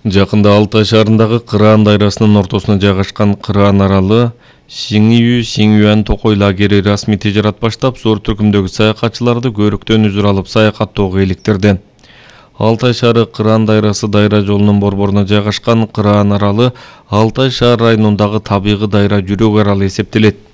Жакында Алтай шаарындагы Кыраан дайрасынын ортосуна жайгашкан Кыраан аралы Сиңюан токой лагери расмий тижарат баштап, зор түркүмдөгү саякатчыларды көрүктөн үзүр алып саякаттоого иликтирди. Алтай шаары Кыраан дайрасы дайра жолунун борборуна жайгашкан Кыраан аралы Алтай шаар районундагы табигый дайра жүрөк аралы эсептелет.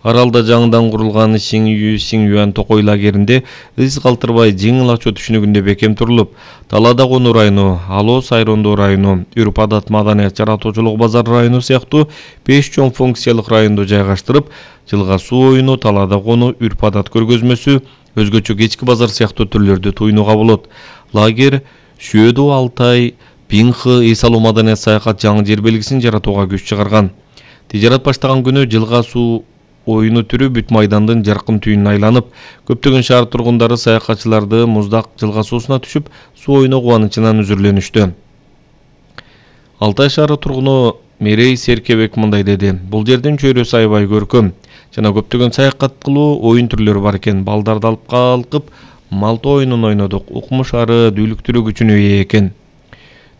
Аралда жаңыдан курулган Сиңюан токой лагеринде из калтырбай жеңил ачуу түшүнүгүндө бекем турулуп, Талаада Кону району, Алоо Сайрондоо району, Үрп-адат маданият жаратуучулук базары району сыяктуу 5 чоң функциялык районду жайгаштырып, жылга суу оюну, Талаада Кону, Үрп-адат көргөзмөсү, өзгөчө кечки базар сыяктуу түрлөрдү туйнууга болот. Лагер Шүйөдө Алтай, Пинхы, эс алуу маданият саякат жаңы жер белгисин жаратууга күч чыгарган. Тижарат баштаган күнү жылга суу оюну түрү бүт майдандын жаркын түйүнүн айланып, көптөгөн шаар тургундары саякатчыларды муздак жылга суусуна түшүп, суу оюну кубанычынан үзүрленүштү. Алтай шаары тургуну Мерей Серкебек мындай деди: "Бул жердин чөйрөсү аябай көркөм жана көптөгөн саякат кылуу оюн түрлөрү бар экен. Балдарды алып калкып, малта оюнун ойнодук. Укмуш ары дүүлүктүрүү күчүнө ээ экен.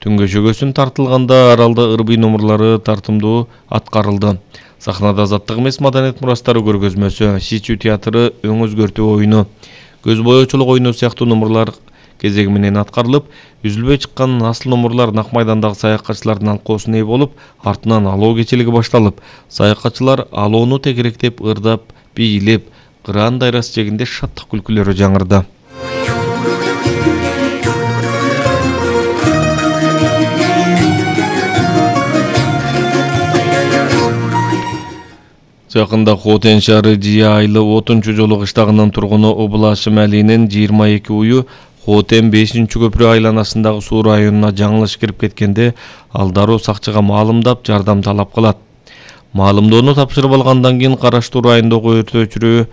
Түнгө шөгөсүн тартылганда аралда ырбый номурлары тартымдуу аткарылды. Сахнада азаттык эмес маданият мурастары көргөзмөсү, Шичүү театры өң өзгөртүү оюну, көз боечулук оюну сыяктуу номурлар кезеги менен аткарылып, үзүлбөй чыккан асыл номурлар Нак майдандагы саякатчылардын алкоосуна ээ болуп, артынан алоо кечилиги башталып, саякатчылар алоону тегеректеп, ырдап, бийлеп, Кыраан дайрасы жегинде шаттык күлкүлөрү жаңырды. Жакында Хотен шаары Жия айылы 30 жолу кыштагынын тургуну Облашым Алинин 22 уyu Хотен 5-көпүрө айланасындагы суу районуна жаңылыш кирип кеткенде, ал дароо сакчыга маалымдап, жардам талап кылат. Маалымдоону тапшырып алгандан кийин караштуу райондогу өрт өчүрүү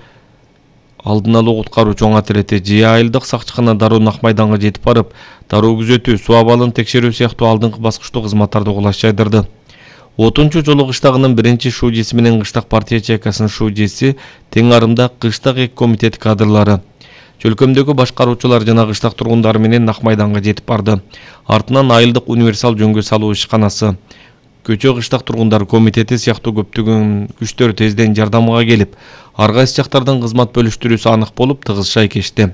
алдын алуу куткаруу чоң атирети Жия айылдык сакчыкана дароо Нак майданга жетип барып, дароо күзөтүү, суу абалын текшерүү сыяктуу алдыңкы баскычтуу кызматтарды кулаш жайдырды. 30 жолу кыштагынын биринчи шуудеси менен кыштак партия ячейкасынын шуудеси, тең арымда кыштак эки комитет кадрлары, чөлкөмдөгү башкаруучулар жана кыштак тургундары менен Нак майданга жетип барды. Артынан айылдык универсал жөнгө салуу ишканасы, көчө кыштак тургундары комитети сыяктуу көптөгөн күчтөр тезден жардамга келип, ар кайсы жактардан кызмат бөлүштүрүүсү анық болуп, тыгыз шайкешти.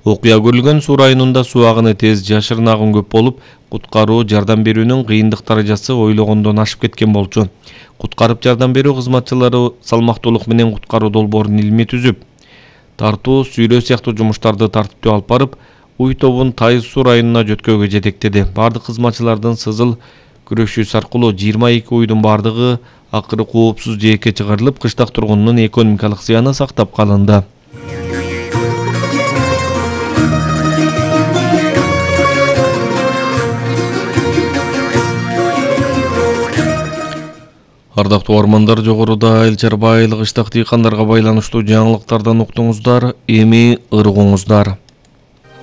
Окуя көрүлгөн суу районунда суу агыны тез, жашырын агым көп болуп, куткаруу жардам берүүнүн кыйындык даражасы ойлогондон ашып кеткен болчу. Куткарып жардам берүү кызматчылары салмактуулук менен куткаруу долбоорун илимий түзүп, тартуу, сүйрөө сыяктуу жумуштарды тартиптүү алып барып, уй тобун Тайыз суу районуна жөткөөгө жетектеди. Бардык кызматчылардын сызыл күрөшүүсү аркылуу 22 уйдун бардыгы акыры коопсуз жээкке чыгарылып, кыштак тургунунун экономикалык зыяны сактап калынды. Ардактуу армандар, жогоруда Эл Чарбайлык кыштак дыйкандарга байланыштуу жаңылыктардан уктуңуздар, эми ыргуңуздар.